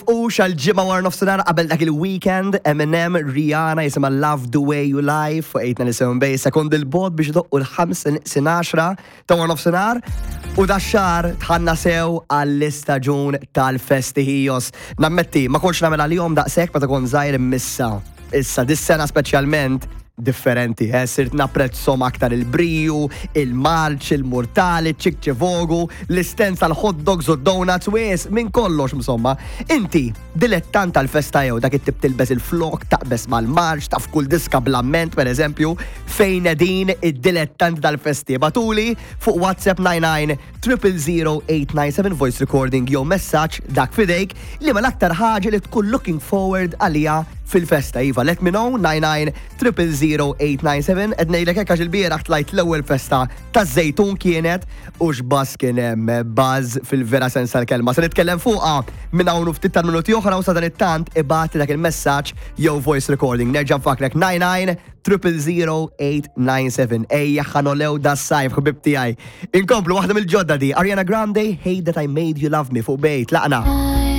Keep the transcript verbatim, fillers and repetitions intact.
Tifqux għal ġimgħa wara nofsinhar qabel dak il-weekend, Eminem, Rihanna jisimha Love the Way You Lie fuq eight nine seven Bay, sekond il-bot biex idoqqu l-ħamsa neqsin għaxra ta' wara nofsinhar. U dax-xahar dħalna sew għall-istaġun tal-festi ħijos. Nammetti, ma kontx nagħmel għalihom daqshekk meta kont żgħir imma issa. Issa, dis-sena speċjalment differenti, eh? Sirt napprezzahom aktar il-briju, il-marċ, il-murtali, ċikċivogu, l-istenza tal-hot dogs u donuts, wis, minn kollox insomma. Inti, dilettant tal-festa jew dak it-tip tilbes il-flok, taqbes mal-marċ, taf kull diska bl-amment, per eżempju, fejn din id-dilettant tal-festi? Ibagħtuli fuq WhatsApp nine nine triple zero eight nine seven voice recording jew messaġġ dak fidejk li ma l-aktar ħaġa li tkun looking forward għalija fil-festa. Iva, let me know nine nine triple zero eight nine seven. Qed ngħidlek hekk għax il-bieraħ tlajt l-ewwel festa taż-Żejtun kienet u x'buzz kien hemm, buzz fil-vera sens tal-kelma. Se nitkellem fuqha minn hawn u ftit tal-minuti oħra u sadanittant ibgħat dak il-messaġġ jew voice recording. Nerġa' nfakkrek nine nine triple zero eight nine seven. Ejja ħa nogħlew das-sajf, ħbib tiegħi. Inkomplu waħda mill-ġodda di Ariana Grande, Hate That I Made You Love Me fuq Bay. Tlaqna.